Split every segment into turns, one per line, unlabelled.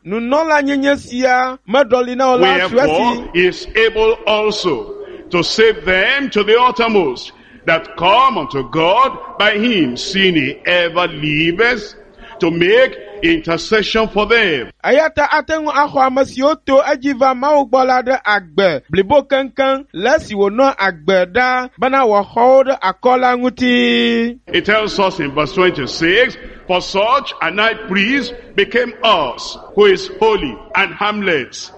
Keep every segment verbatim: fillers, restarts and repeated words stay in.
Nunɔlanyenye sia meɖɔli na wo la su esi.
Wherefore he is able also to save them to the uttermost that come unto God by him, seeing he ever liveth to make intercession for them.
Eya ta ate ŋu axɔ ame siwo to edzi va Mawu gbɔ la ɖe agbe blibo keŋkeŋ le esi wònɔ agbe ɖaa bena wòaxɔ wo ɖe akɔ la ŋuti.
It tells us in verse twenty-six, for such an high priest became us, who is holy and harmless,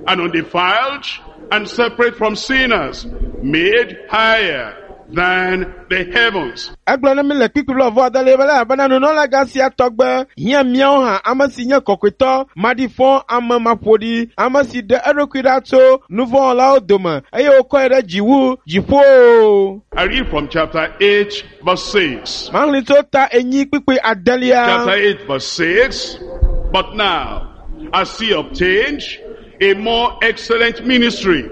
and undefiled, and separate from sinners, made higher than the heavens.
Egblɔ na mi le kpukpui blaeve adelia be elabena nunɔlagã sia tɔgbe hiã míawo hã, ame si nye kɔkɔetɔ, maɖifɔ, ame maƒoɖi, ame si ɖe eɖokui ɖa tso nuvɔ̃wɔlawo dome eye wokɔe ɖe dzi wu dziƒo.
I read from chapter eight, verse six.
Maxlẽ tso ta enyi kpukpui adelia.
Chapter eight, verse six. But now, as he obtained a more excellent ministry,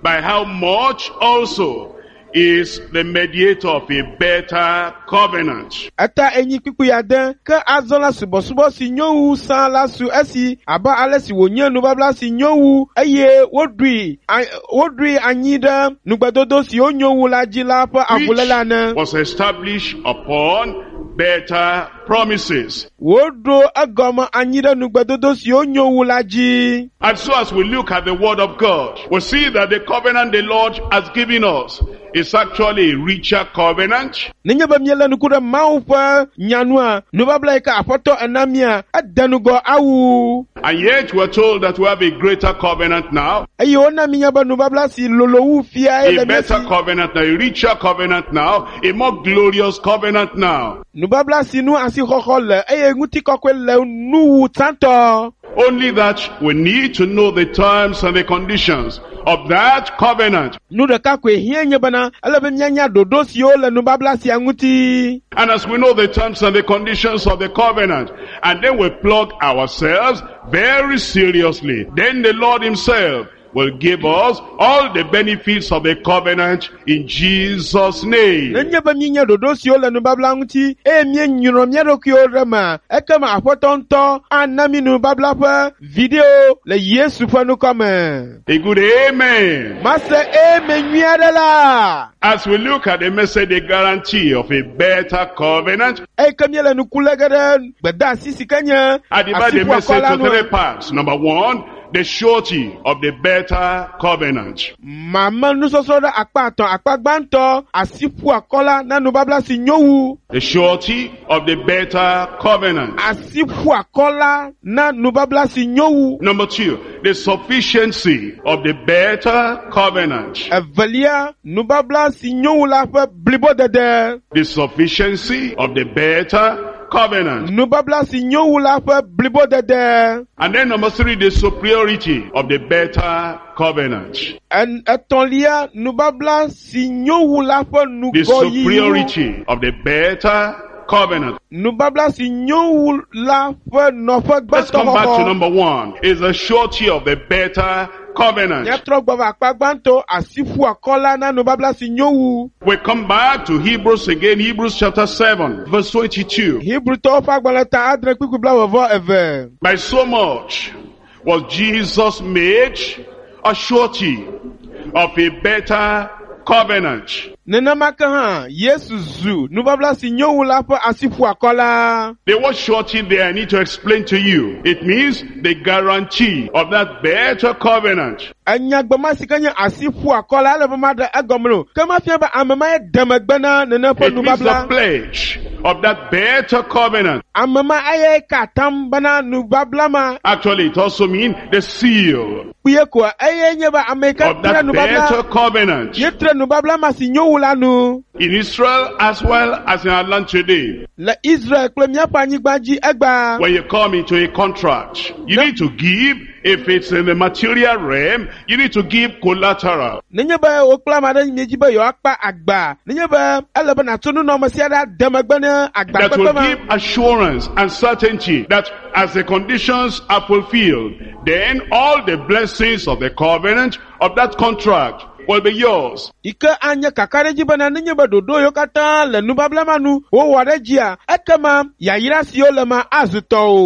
by how much also is the mediator of a better covenant.
Eta enyi kpukpui ade ke azɔ la subɔsubɔ si nyo wu sã la su esi abe ale si wònye nubabla si nyo wu eye woɖoe a- woɖoe anyi ɖe nugbedodo siwo nyo wu la dzi la ƒe avuléle ene.
Which was established upon better promises.
Woɖo egɔme anyi ɖe nugbedodo siwo nyo wu la dzi.
And so as we look at the word of God, we see that the covenant the Lord has given us is actually a richer covenant.
Nenye be míelé ŋku ɖe Mawu ƒe nyanua, nubabla yi ke Aƒetɔ ena mía, ede ŋgɔ awu.
And yet we're told that we have a greater covenant now,
Eye wona mínya be nubabla si lolo wu fiae
a
le mía
better
si.
covenant now, a richer covenant now, a more glorious covenant now.
Nubabla si nu asixɔxɔ le eye ŋutikɔkɔe le nu wu tsãtɔ.
Only that we need to know the terms and the conditions of that covenant.
Nu ɖeka koe hiã nye bena ele be míanya ɖoɖo siwo le nubabla sia ŋuti.
And as we know the terms and the conditions of the covenant, and then we plug ourselves very seriously, then the Lord himself will give us all the benefits of the covenant in Jesus' name.
Nenye be míenya ɖoɖo siwo le nubabla ŋuti eye míenyrɔ mía ɖokuiwo ɖe mea, ekema Aƒetɔ ŋutɔ ana mí nubabla ƒe viɖewo le Yesu ƒe ŋkɔ me.
A good amen.
Mase eme nyui aɖe la.
As we look at the message, the guarantee of a better covenant,
Eyi ke míele ŋku lé ge ɖe gbedeasi si ke nye
I divide the message
asiƒuakɔ la
to three
nua.
parts. Number one, the surety of the better covenant.
Mame nusɔsrɔ̃ ɖe akpa etɔ̃. Akpa gbãtɔ, asiƒuakɔ la na nubabla si nyo wu.
The surety of the better covenant.
Asiƒuakɔ la na nubabla si nyo wu.
Number two, the sufficiency of the better covenant.
Evelia, nubabla si nyo wu la ƒe blibodede.
The sufficiency of the better covenant.
Nubabla si nyo wu la ƒe blibodede.
And then number three, the superiority of the better covenant.
En- Etɔ̃lia, nubabla si nyo wu la ƒe
The
ŋgɔyiyi.
superiority of the better covenant.
Nubabla si nyo wu la ƒe nɔƒe
Let's come back to
gbãtɔ xɔxɔ.
number one. Is the surety of the better covenant.
Míatrɔ gbɔ va akpa gbãtɔ, asiƒuakɔ la na nubabla si nyo wu.
We come back to Hebrews again, Hebrews chapter seven, verse twenty-two.
Hebrewtɔwo ƒe agbalẽ ta adre kpukpui blaeve vɔ eve.
By so much was Jesus made a surety of a better covenant.
Nenema ke hã Yesu zu nubabla si nyo wu la ƒe asiƒuakɔ la.
The word surety there I need to explain to you. It means the guarantee of that better covenant.
Enyagbe ma si ke nye asiƒuakɔ la ele be maɖe egɔme o. Ke mafia be ame ma ye de megbe na nene ƒe
It means the
nubabla.
pledge of that better covenant.
Ame ma eye ka atam bena nubabla ma
Actually, it also means the seal
kpuie koa eye nye be ame yi ke
of
tre
that better
nubabla
covenant.
ye tre nubabla ma si nyo wu la nu.
In Israel as well as in our land today.
Le Israel kple míaƒe anyigba dzi egbea.
When you come into a contract, you
No.
need to give, if it's in the material realm, you need to give collateral.
Nenye be wo kple ame aɖe miedzi be yewoakpa agba, nenye be ele be nàtso nunɔamesi aɖe ade megbe ne agba
That
kpekpe
will
ma.
give assurance and certainty that as the conditions are fulfilled, then all the blessings of the covenant, of that contract, will be yours.
Yi ke anye kakaɖedzi bena nenye be ɖoɖo yiwo katã le nubabla ma nu wowɔ ɖe dzia, ekema yayra siwo le ma azu tɔwò.